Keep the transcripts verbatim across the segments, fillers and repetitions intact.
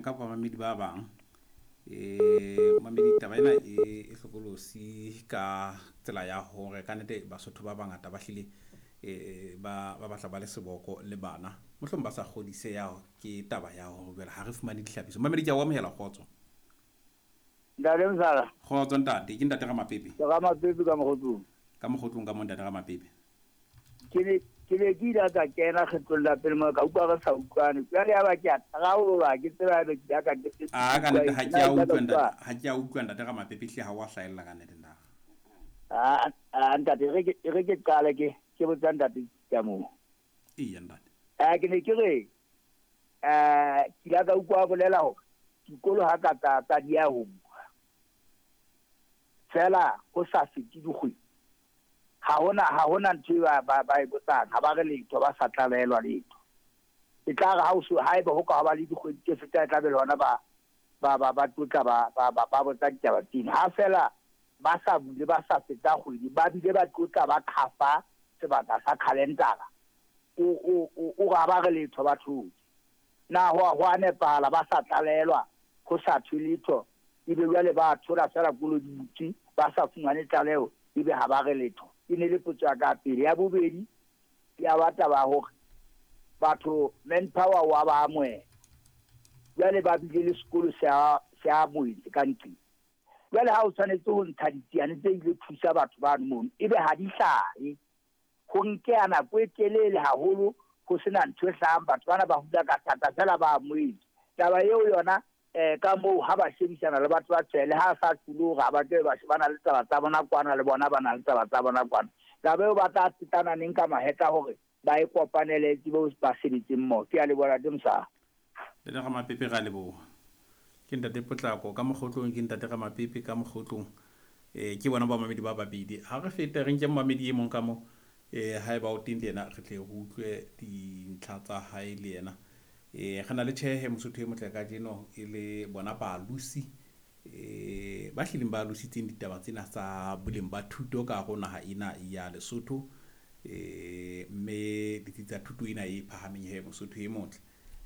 Ka bamamedi ba bang eh mamedi taba ena e e hlokolosi ka tsela ya hore kannete Basotho ba bangata ba hlile eh ba ba batla ba le seboko le bana, mohlomong ba sa kgodiseha ke taba ya hore jwale ha re fumane dihlapiso. Mamedi, ke a o amohela. Kgotso. Ntate Msala. Kgotso ntate, ke ntate Ramapepe. Ke Ramapepe ka Mokgotlong. Ka Mokgotlong ka mo, ntate Ramapepe. Ke ne ke ne ke ile ka kena kgetlong la pele mo ka utlwa re sa utlwane. Jwale ya ba ke a taraola, ke tseba ebe ke ka ke A ka nnete ha ke a utlwa ntate, ha ke a utlwa ntate Ramapepe, hle ha wa hlahella ka nnete ntate. A a ntate, re ke re ke qale ke ke botsa ntate ka moo. Eya ntate. Eh ke ne ke re eh ke ile ka utlwa bolela hore dikolo ha ka tsa tsa di ya ho bua. Fela ho sa fete dikgwedi. Ha hona ha hona ntho e ba ba ba e botsang, ha ba re letho, ba sa tlalehelwa letho. E tla re ha o so haeba ho ka ba le dikgwedi tse fetang, e tla be le hona ba ba ba ba tlotla ba ba ba ba botsa ditaba tsena. Ha fela ba sa bule, ba sa feta kgwedi, ba bile ba tlotla ba khafa sebaka sa calendar. O o o o ga ba re letho, ba thotse. Na ho ho a nepahala ba sa tlalehelwa, ho sa thwe letho, ebe jwale ba thola fela kolo di butse, ba sa fumane tlaleho, ebe ha ba re letho? E ne le potso ya ka pele. Ya bobedi ya ba taba hore batho manpower wa ba amohela, jwale ba bile le sekolo se a se a amohetse ka ntleng. Jwale ha o tshwanetse ho ntsha ditsiane tse ile thusa batho bano mono, ebe ha di hlahe, ho nkeha nako e telele haholo ho sena ntho e hlahang, batho bana ba hula ka thata fela ba amohetse. Taba eo yona eh ka moo ha ba shebisana le batho ba tshwele, ha sa tsule hore ha ba tle ba shebana le taba tsa bona kwana, le bona ba na le taba tsa bona kwana. Taba eo ba tla tsetana neng ka mahetla hore ba e kopanele tsebo ba sebetseng mmoho? Ke a leboha, Ntate Mosala. Ntate Ramapepe, ra leboha. Ke ntate Potlako ka Mokgotlong, ke ntate Ramapepe ka Mokgotlong. Eh ke bona bamamedi ba babedi. Ha re fete re nke momamedi e mong ka mo, eh haeba o teng le yena, re tle re utlwe dintlha tsa hae le yena. Eh re na le tjhehe Mosotho e motle kajeno e le bona baalosi eh ba hlileng ba alositseng ditaba tsena tsa boleng ba thuto ka hare ho naha ena ya Lesotho, eh mme ditsi tsa thuto ena e phahameng he Mosotho e motle,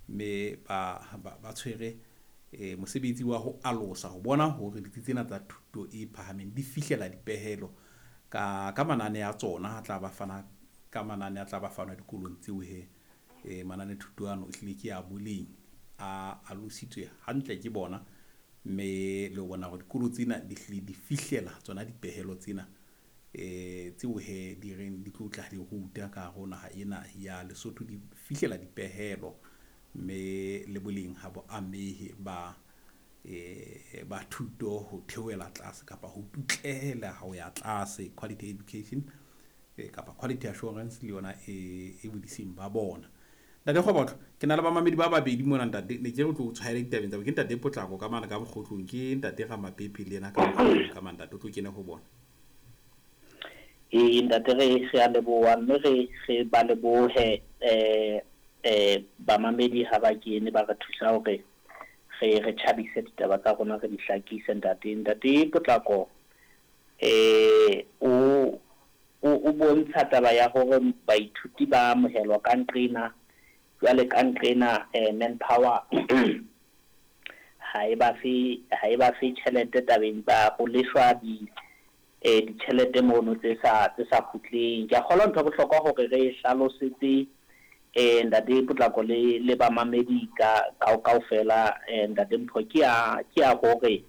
mme ba ba, ba tshwere eh mosebetsi wa ho alosa ho bona hore ditsi tsena tsa thuto e phahameng di fihlela dipehelo ka ka manane a tsona a tla ba fana ka manane a tla ba fanwa dikolong tseo he. Eh manane thuto ano ehlile ke a boleng, a alositswe hantle ke bona, mme le ho bona hore dikolo tsena di hlile di fihlela tsona dipehelo tsena eh tseo he di reng di tlo tla di ruta ka hare ho naha ena ya Lesotho, di fihlela dipehelo, mme le boleng ha bo amehe ba eh ba thuto ho theohela tlase kapa ho tutlehela ho ya tlase. Quality education eh, kapa quality assurance le yona e e bodiseng ba bona. Ntate Kgobotlo, ke na le bamamedi ba babedi mona ntate, ne ke re tlo tshwaela ditabeng tsa, ke ntate Potlako ka mane ka Mokgotlong, ke ntate Ramapepe le yena ka Mokgotlong ka mane, ntate o tlo kene ho bona. Ee ntate, re re a leboha, mme re re ba lebohe eh eh bamamedi ha ba kene ba re thusa hore re re tjhabise ditaba tsa rona, re di hlakise ntate. Ntate Potlako eh o o o bontsha taba ya hore baithuti ba amohelwa ka nqena, jwale ka nqena eh manpower ha e ba fe ha e ba fe tjhelete tabeng tsa ho leshwa di eh ditjhelete mono tse sa tse sa kgutleng. Ke a kgolwa ntho ya bohlokwa hore re hlalosetse eh ntate Potlako le le bamamedi ka ka kaofela, eh ntate Mpho, ke ya ke ya hore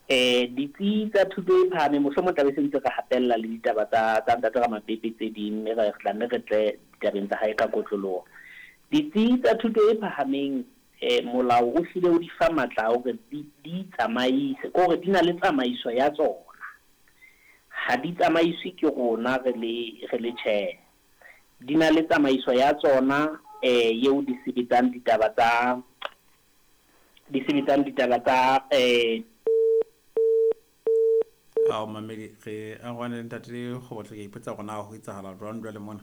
eh ditsi tsa thuto e phahameng, mohlomong tla be se ntse re hatella le ditaba tsa tsa ntate Ramapepe tse ding, mme re tla nne re tle ditabeng tsa hae ka kotloloho. Ditsi tsa thuto e phahameng eh molao o hlile o di fa matla a hore di di tsamaise, ke hore di na le tsamaiso ya tsona, ha di tsamaiswe ke rona re le re le tjhe, di na le tsamaiso ya tsona eh eo di sebetsang ditaba tsa di sebetsang ditaba tsa eh Ao mamedi, re arohane le ntate Kgobotlo, ke ipotsa hore na ho etsahala jwang jwale mona.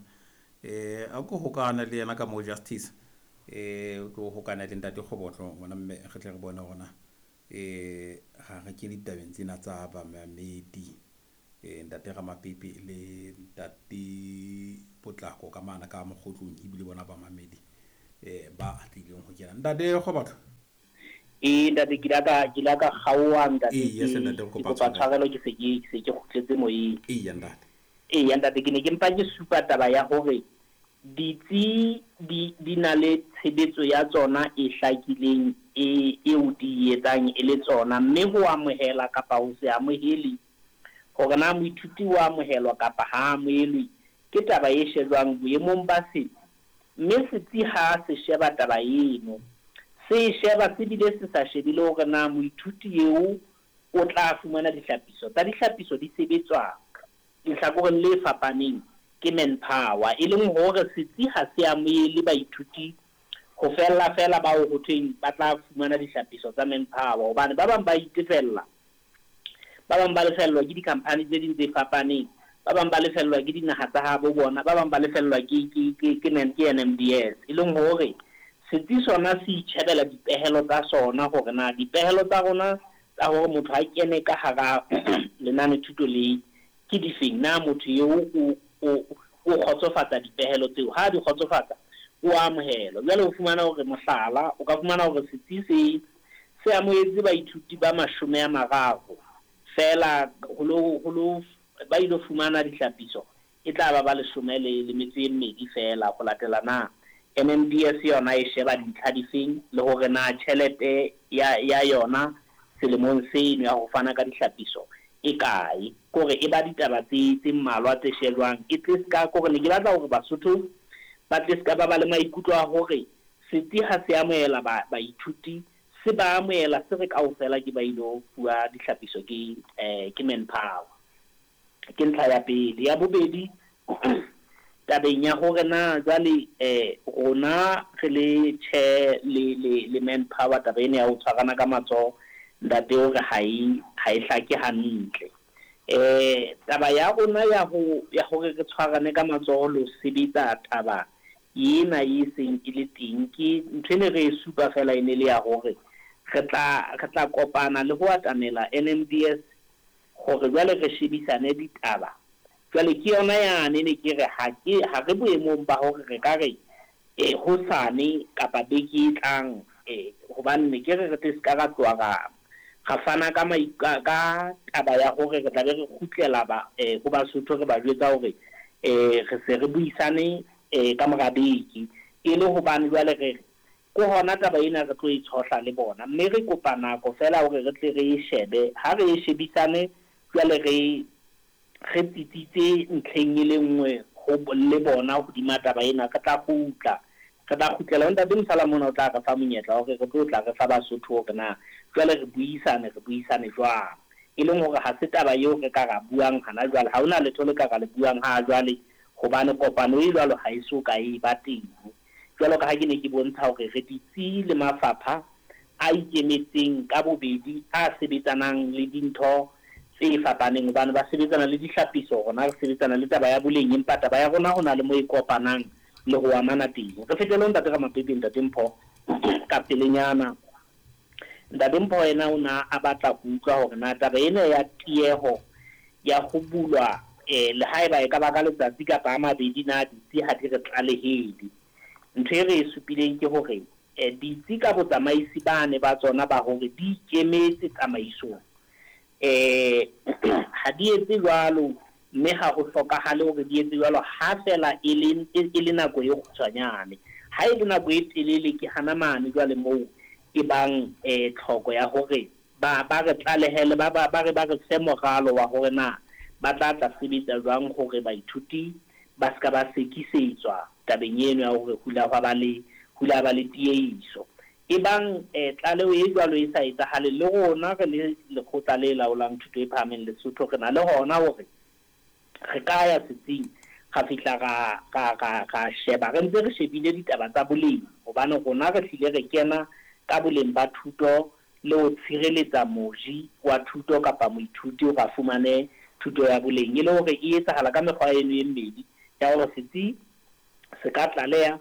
Eh a ko hokahane le yena ka mo Justice, eh o tlo hokahane le ntate Kgobotlo ngwana mme, re tle re bone hore na eh ha re kene ditabeng tsena tsa bamamedi, eh ntate Ramapepe le ntate Potlako ka mana ka Mokgotlong ebile bona bamamedi. eh ba atlileng ho kena. Ntate Kgobatho. E ntate ke la ka ke la ka kgaoha ntate. Ee, yes, ntate, re ke kopa kopa tshwarelo. tshwarelo ke se ke ke se ke kgutletse moyeng. Eya ntate. Eya ntate, ke ne ke mpa ke supa taba ya hore ditsi di di na le tshebetso ya tsona e hlakileng e eo di etsang e le tsona, mme ho amohela kapa ho se amohele hore na moithuti o amohelwa kapa ha amohelwe ke taba e shejwang boemong ba setsi. Mme setsi ha se sheba taba eno, se sheba se bile se sa shebile hore na moithuti eo o tla fumana dihlapiso. Tsa dihlapiso di sebetswa lehlakoreng le fapaneng ke manpower, e leng hore setsi ha se amohele baithuti ho fella fela bao ho thweng ba tla fumana dihlapiso tsa manpower, hobane ba bang ba itefella, ba bang ba lefellwa ke di-company tse ding tse fapaneng, ba bang ba lefellwa ke dinaha tsa habo bona, ba bang ba lefellwa ke ke ke ke ke N M D S. E leng hore setsi sona se itjhebela dipehelo tsa sona hore na dipehelo tsa rona tsa hore motho a kene ka hara lenane thuto le ke difeng, na motho eo o o o kgotsofatsa dipehelo tseo, ha di kgotsofatsa o amohelwa. Jwale o fumana hore mohlala, o ka fumana hore setsi se se amohetse baithuti ba mashome a mararo fela ho lo ho lo ba ilo fumana dihlapiso e tla ba ba leshome le le metso e mmedi fela ho latela na N M D S yona e sheba dintlha difeng le hore na tjhelete ya ya yona selemong seno ya ho fana ka dihlapiso e kae. Kore e ba ditaba tse tse mmalwa tse shejwang, e tle ska kore ne ke batla hore Basotho ba tle ska ba ba le maikutlo a hore setsi ha se amohela ba baithuti, se ba amohela se re kaofela ke ba ilo fuwa dihlapiso ke eh ke manpower. Ke ntlha ya pele. Ya bobedi, tabeng ya hore na jwale eh rona re le tjhe le le le manpower, taba ena ya ho tshwarana ka matsoho ntate hore ha e ha e hlake hantle. Eh taba ya rona ya ho ya hore re tshwarane ka matsoho le ho sebetsa taba ena e seng e le teng, ke ntho e ne re e supa fela e ne le ya hore re tla re tla kopana le ho atamela N M D S hore jwale re shebisane ditaba. Jwale ke yona yane ne ke re ha ke ha re boemong ba hore re ka re eh hosane kapa beke e tlang, eh hobane ne ke re re tle ska ra tloha ra ra fana ka ka ka taba ya hore re tla be re kgutlela ba eh ho Basotho re ba jwetsa hore eh re se re buisane eh ka mora beke, e le hobane jwale re ko hona taba ena re tlo e tshohla le bona, mme re kopa nako fela hore re tle re e shebe. Ha re e shebisane jwale re re tsitsitse ntlheng e le nngwe ho le bona hodima taba ena, re tla kgutla re tla kgutlela. Ntate Mosala mona o tla re fa monyetla hore re tlo tla re fa Basotho hore na jwale re buisane re buisane jwang, e leng hore ha se taba eo re ka ra buang hana jwale, ha hona letho le ka ra le buang ha jwale, hobane kopano e jwalo ha e so ka e ba teng. Jwalo ka ha ke ne ke bontsha hore re ditsi le mafapha a ikemetseng ka bobedi a sebetsanang le dintho tse fapaneng, hobane ba sebetsana le dihlapiso, rona re sebetsana le taba ya boleng, empa taba ya rona ho na le mo e kopanang le ho amana teng. Re fetele ho ntate Ramapepe, ntate Mpho ka pelenyana. Ntate Mpho yena o na a batla ho utlwa hore na taba ena ya tieho ya ho bulwa eh le haeba e ka ba ka letsatsi kapa a mabedi na ditsi ha di re tlalehele. Ntho e re e supileng ke hore eh ditsi ka botsamaisi ba ne ba tsona ba hore di ikemetse tsamaisong, eh ha di etse jwalo, mme ha ho hlokahale hore di etse jwalo ha fela e le e le nako e kgutshwanyane. Ha e le nako e telele ke hana mane jwale moo e bang eh tlhoko ya hore ba ba re tlalehele, ba ba re ba re fe moralo wa hore na ba tla tla sebetsa jwang hore baithuti ba ska ba sekisetswa tabeng eno ya hore hula hwa ba le hula ba le tiehiso. E bang eh tlaleho e jwalo e sa etsahale, le rona re le lekgotla le laolang thuto e phahameng Lesotho re na le hona hore re ka ya setsing ra fihla ra ra ra ra sheba, re ntse re shebile ditaba tsa boleng, hobane rona re hlile re kena ka boleng ba thuto le ho tshireletsa moji wa thuto kapa moithuti hore a fumane thuto ya boleng, e le hore e etsahala ka mekgwa eno e mmedi ya hore setsi se ka tlaleha,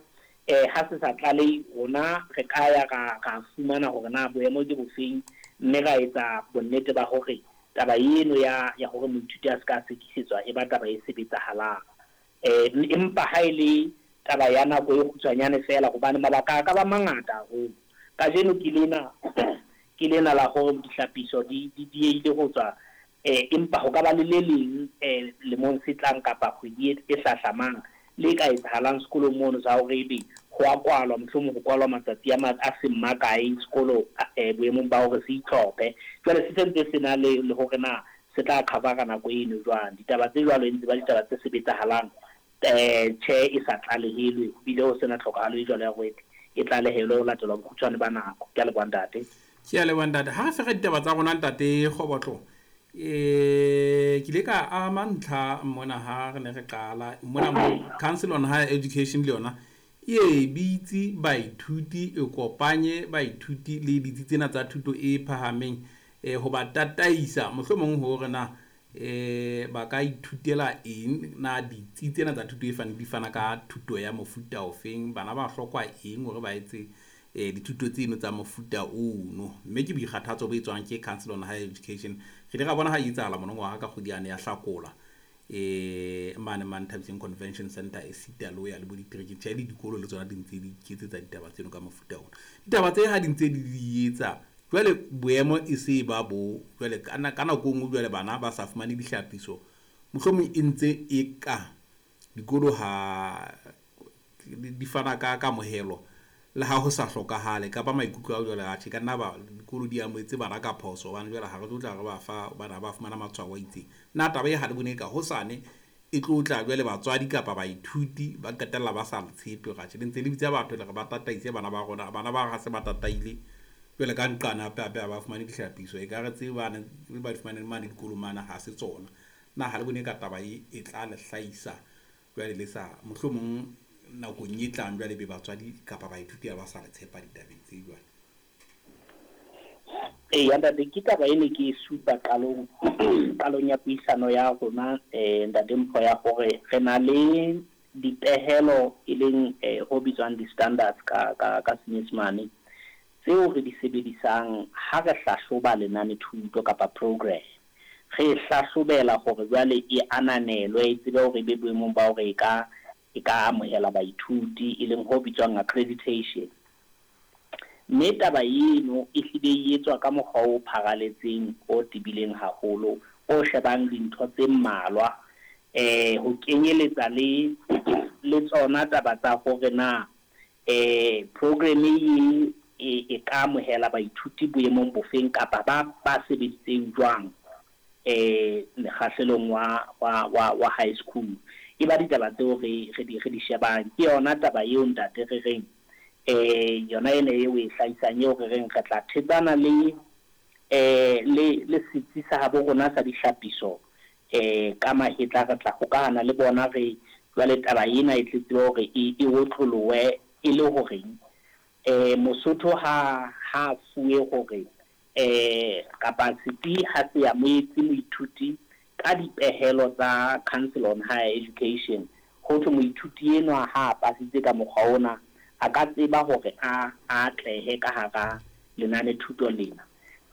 eh ha se sa tlalehe rona re ka ya ra ra fumana hore na boemo ke bofeng, mme ra etsa bonnete ba hore taba eno ya ya hore moithuti a se ka sekisetswa e ba taba e sebetsahalang. Eh empa ha e le taba ya nako e kgutshwanyane fela hobane mabaka a ka ba mangata haholo. Kajeno ke lena ke lena la hore dihlapiso di di diehile ho tswa eh empa ho ka ba le le leng eh lemong se tlang kapa kgwedi e hlahlamang le ka etsahalang sekolong mono sa hore ebe ho a kwalwa, mohlomong ho kwalwa matsatsi a a seng makae sekolo eh boemong ba hore se itlhophe. Jwale se sentse se na le le hore na se tla cover-a nako eno jwang. Ditaba tse jwalo e ntse ba ditaba tse sebetsahalang eh tjhe e sa tlalehelwe, ebile ho sena tlhokahalo e jwalo ya hore e tlalehelwe ho latelwa bokgutshwane ba nako. Ke a leboha ntate. Ke a leboha ntate. Ha re fera ditaba tsa rona ntate Kgobotlo, eh ke ile ka ama ntlha mona ha re ne re qala mona mo Council on Higher Education le yona e bitse baithuti, e kopanye baithuti le ditsi tsena tsa thuto e phahameng eh ho ba tataisa mohlomong hore na eh ba ka ithutela eng, na ditsi tsena tsa thuto e fana di fana ka thuto ya mofuta ofeng, bana ba hlokwa eng hore ba etse eh dithuto tseno tsa mofuta ono. Mme ke boikgathatso bo etswang ke Council on Higher Education. Re ile ra bona ha e etsahala monongwaha ka kgwedi yane ya Hlakola eh mane mane Thabiseng Convention Center e sita le ho ya le bo diterekeng, tjhe le dikolo le tsona di ntse di iketsetsa ditaba tseno ka mofuta ona. Ditaba tse ha di ntse di di etsa jwale boemo e se ba bo jwale ka ka nako e nngwe jwale bana ba sa fumane dihlapiso, mohlomong e ntse e ka dikolo ha di fana ka kamohelo le ha ho sa hlokahale kapa maikutlo a jwale atjhe ka nna ba dikolo di amohetse bana ka phoso hobane jwale ha re tlo tla re ba fa bana ba fumana matshwao a itseng. Nna taba e ha le bone ka hosane e tlo tla jwale batswadi kapa baithuti ba qetella ba sa le tshepe hore atjhe le ntse le bitsa batho le re ba tataise bana ba rona, bana ba ha se ba tataile jwale ka nqane hape hape ha ba fumane dihlapiso, ekare tse bana ba di fumaneng mane dikolong mane ha se tsona. Nna ha le bone ka taba e e tla le hlahisa jwale le sa mohlomong nakong e tlang jwale be batswadi kapa baithuti ha ba sa le tshepa ditabeng tse jwale? Eya ntate, ke taba ene ke e supa qalong qalong ya puisano ya rona eh ntate Mpho ya hore re na le dipehelo e leng eh ho bitswang di-standards ka ka ka Senyesemane tseo re di sebedisang ha re hlahloba lenane thuto kapa program. Re hlahlobela hore jwale e ananelwe, e tsebe hore e be boemong ba hore e ka e ka amohela baithuti, e leng ho bitswang accreditation. Mme taba eno e hlile e etswa ka mokgwa o pharaletseng o tebileng haholo, o shebang dintho tse mmalwa eh ho kenyeletsa le le tsona taba tsa hore na eh program e e ka amohela baithuti boemong bofeng kapa ba ba sebeditseng jwang eh mekgahlelong wa wa wa wa high school. E ba ditaba tseo re re di re di shebang. Ke yona taba eo ntate re reng eh yona ene eo e hlahisang eo re reng re tla thetsana le eh le le setsi sa habo rona sa dihlapiso eh ka mahetla, re tla hokahana le bona re jwale taba ena e tletse hore e e otlolowe e le horeng eh Mosotho ha ha fuwe hore eh kapa setsi ha se amohetse moithuti ka dipehelo tsa Council on Higher Education, ho thwe moithuti enwa ha a pasitse ka mokgwa ona a ka tseba hore a atlehe ka hara lenane thuto lena.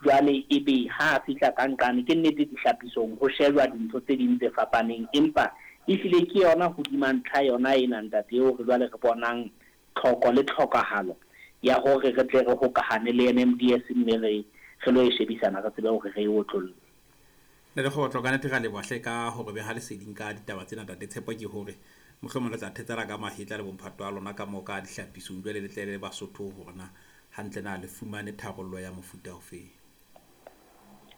Jwale ebe ha a fihla ka nqane, ke nnete dihlapisong ho shejwa dintho tse ding tse fapaneng, empa ehlile ke yona hodima ntlha yona ena ntate eo re jwale re bonang tlhoko le tlhokahalo ya hore re tle re hokahane le N M D S mme re re lo e shebisana re tsebe hore re e otlolle. Ntate Kgobotlo, ka nnete ra leboha hle ka hore beha leseding ka ditaba tsena ntate. Tshepo ke hore mohlomong le tla thetsana ka mahetla le bomphato wa lona ka moo ka dihlapisong jwale le tle le Basotho hore na hantle na le fumane tharollo ya mofuta ofeng.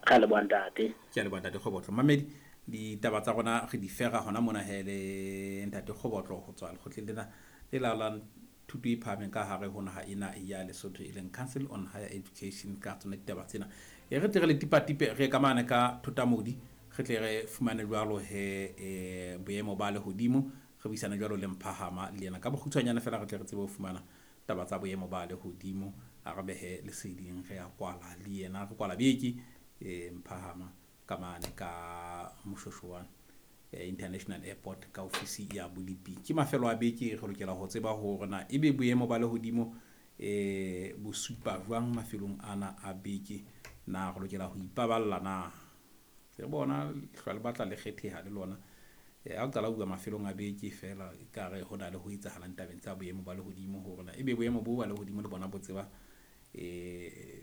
Ra leboha ntate. Ke a leboha ntate Kgobotlo. Mamedi, ditaba tsa rona re di fera hona mona he le ntate Kgobotlo ho tswa lekgotleng lena le laolang thuto e phahameng ka hare ho naha ena ya Lesotho e leng Council on Higher Education ka tsona ditaba tsena. E re tle re le tipatipe re ka mane ka Thotamodi, re tle re fumane jwalo he eh boemo ba lehodimo, re buisane jwalo le Mphahama le yena ka bokgutshwanyane fela re tle re tsebe ho fumana taba tsa boemo ba lehodimo. A re behe leseding, re ya kwala le yena, re kwala beke eh Mphahama ka mane ka Moshoeshoane International Airport ka ofisi ya Bolipi. Ke mafelo a beke re lokela ho tseba hore na ebe boemo ba lehodimo eh bo supa jwang mafelong ana a beke, na re lokela ho ipaballa na. Re bona hlwa le batla le kgetheha le lona Eh, ha o qala ho bua mafelong a beke feela ekare ho na le ho etsahalang tabeng tsa boemo ba lehodimo hore na ebe boemo bo ba lehodimo le bona bo tseba eh